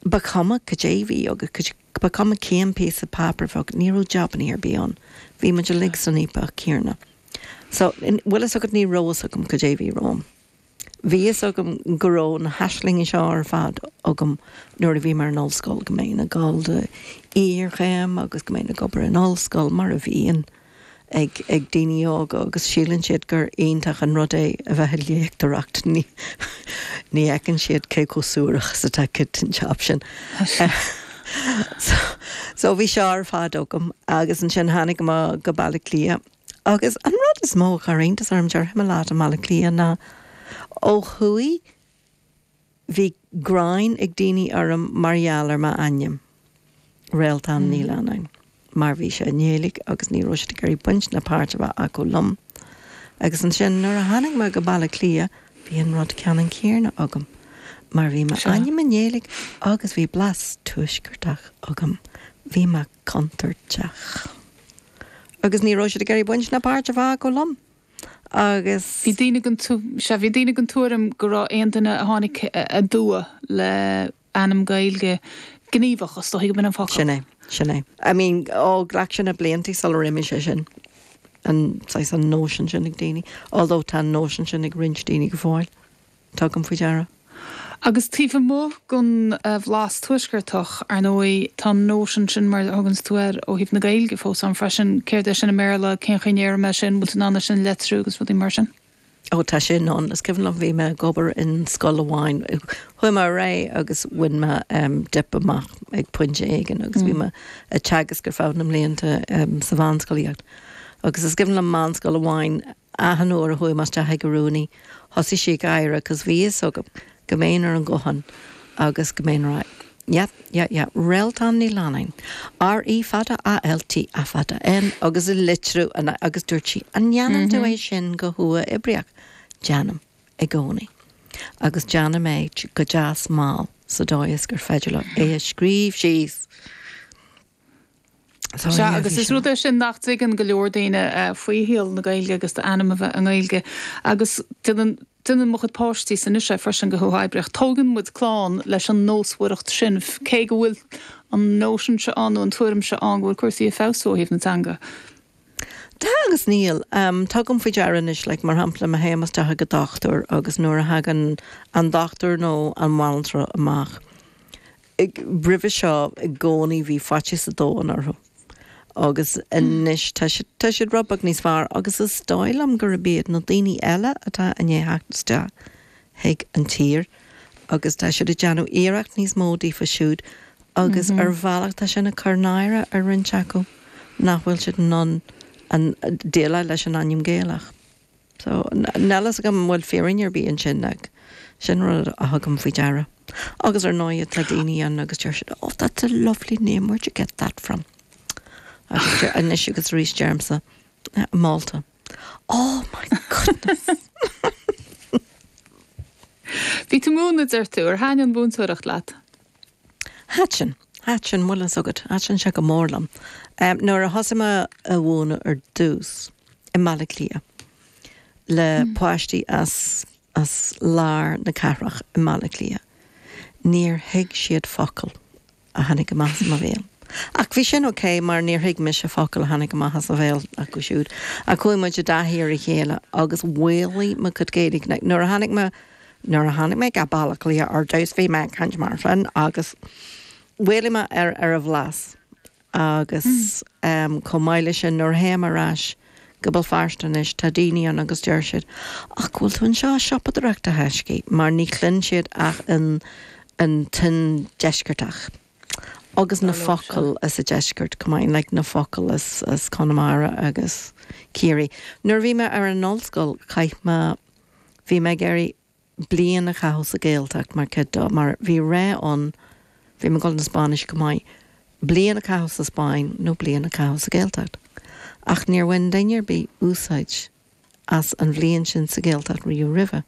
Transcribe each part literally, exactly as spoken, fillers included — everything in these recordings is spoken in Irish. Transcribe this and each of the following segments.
Ba chuma cad é bhí agus ba chuma cén píosa páipéir bheadh ní raibh jabanna ar bith ann. Bhí muid uilig san fhaopach céanna. So bhfuil fhios agat ní raibh fhios agam cad é bhí romham. Bhí fhios agam go raibh na haislinge seo ar fad agam nuair a bhí mé ar an ollscoil go mbeinn ag dul do iarchéim agus go mbeinn ag obair in ollscoil mar a bhíonn ag ag daoine óga agus síleann siad gur iontach an rud é a bheith ag léachtóireacht ní ní fheiceann siad cé chomh suarach is atá an job sin. so, so bhí seo ar fad agam agus ansin tháinig mé go Baile Átha Cliath agus an rud is mó a chuir iontas orm déarfaidh mé leat i mBaile Átha Cliath ná ó thuaidh bhí gráin ag daoine orm mar gheall ar m'ainm Réaltán Ní Leannáin mar bhí sé i nGaeilge agus ní raibh siad ag iarraidh baint ná páirt a bheith acu liom. Agus ansin nuair a tháinig mé go Baile Átha Cliath bhí an rud ceannann céanna agam, mar bhí m'ainm i nGaeilge agus bhí blas tuaisceartach agam, bhí mé contúirteach. Agus ní raibh siad ag iarraidh baint ná páirt a bheith acu liom. Agus Bhí daoine den sea bhí daoine den tuairim go raibh aon duine a tháinig aduaidh le ainm Gaeilge gníomhach is dóigh go an focal. Sin é sin é. I mean ó ghlac sin na blianta sular imigh sé sin an saghas an nóisean sin ag daoine, although tá an nóisean sin ag roinnt daoine go fóill. Tugaim faoi deara. Agus taobh amuigh den bhlas tuaisceartach ar ndóigh tá nóisean sin mar thugann tú air ó thaobh na Gaeilge fós ann freisin céard é sin i mBéarla cén chaoi a ndéarfaidh mé sin bhfuil an sin leitriú agus rudaí mar sin. Ó tá sin ann is cuimhin liom bhí mé ag obair in scoil amháin chuaigh mé réidh agus bhain mé um, dip amach ag pointe éigin agus bhí mé ag teagasc ar feadh na mblianta um, sa mheánscolaíocht. Agus is cuimhin liom meánscoil amháin achan uair a chuaigh mé isteach ag an rúnaí, thosaigh sí ag gáire, cos bhí fhios agam go mbeinn ar an nguthán agus go mbeinn rá. Ja, ja, ja, Réaltán Ní Leannáin. R E fada A L T A fada N agus a litriú agus dúirt sí an ndéanann tú é sin go huathoibríoch Déanaim i gcónaí. Agus déanaim é go deas mall sa dóigh is gur féidir leo é a scríobh síos. So, yeah, agus is rud é sin nach dtuigeann go leor daoine uh, faoi shaol na Gaeilge agus d'ainm a bheith i nGaeilge agus déanann déanann mo chuid páistí san is sé freisin go huathoibríoch. Tógann muid clann leis an nósmhaireacht sin cé go bhfuil an nóisean seo ann nó an tuairim seo ann go bhfuil cúrsaí ag feabhsú ó thaobh na teanga. Tá agus níl um, Tugaim faoi deara anois like, mar shampla má théim isteach go dochtúir agus nuair a thagann an dochtúir nó an bhanaltra amach. Roimhe seo i gcónaí bhí faitíos an domhain orthu. agus anois tá tá siad rud beag níos fearr agus is dóigh liom gurb iad na daoine eile atá i ndiaidh theacht isteach chuig an tír agus tá siad ag déanamh iarracht níos mó daofa siúd agus mm -hmm. ar bhealach tá sin ag cur náire ar roinnt acu nach bhfuil siad in ann déileáil leis an ainm Gaelach. So níl fhios agam bhfuil fírinne ar bith ansin ach sin rud a thugaim faoi deara. Agus ar ndóigh tá daoine ann agus deir siad, oh that's a lovely name, where'd you get that from? Agus anois agus arís deirimse Malta. Oh my goodness. Bhí tú múineadh deir tú ar thaitin an mhúinteoireacht leat. Thaitin, thaitin bhfuil fhios agat, thaitin sé go mór liom. Um, nuair a thosaigh mé ag múineadh ar dtús i mBaile Átha Cliath le mm. páistí as as lár na cathrach i mBaile Átha Cliath. Níor thuig siad focal a tháinig amach as mo bhéal. Ach bhí sin ok mar níor thuig mise focal a tháinig amach as a bhéal acu siúd. A chuaigh muid i dtaithí ar a chéile agus mhaolaigh mo chuid Gaeilge nuair a tháinig mé nuair a tháinig mé go Baile Átha Cliath ar dtús bhí mé ag caint mar sin agus mhaolaigh mé ar ar a bhlas agus mm. um, chomh maith leis sin nuair a théim ar ais go Béal Feirste anois tá daoine ann agus deir siad ach bhfuil tú anseo siopadóireacht a thaiscí mar ní chluin siad ach an an tuin deisceartach. Agus na focail as an deisceart chomh maith like na focail as as Conamara agus Ciarraí. Nuair bhí mé ar an ollscoil chaith mé bhí mé ag iarraidh bliain a chaitheamh sa Ghaeltacht mar cuid mar bhí ré ann bhí mé ag dul na Spáinnis go maith bliain a chaitheamh sa Spáinn nó bliain a chaitheamh sa Ghaeltacht. Ach níor bhain duine ar bith úsáid as an bhliain sin sa Ghaeltacht riamh roimhe.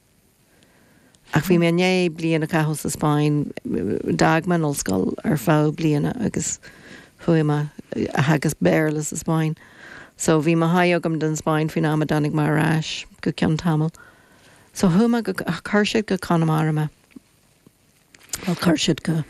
Ach bhí mé i ndiaidh bliain a chaitheamh sa Spáinn d'fhág mé an ollscoil ar feadh bliana agus chuaigh mé agus Béarla sa Spáinn. So bhí mo thaithí agam den Spáinn faoin am a dtáinig mé ar ais go ceann tamall. So chuaigh mé go chuir siad go Conamara mé. Well chuir siad go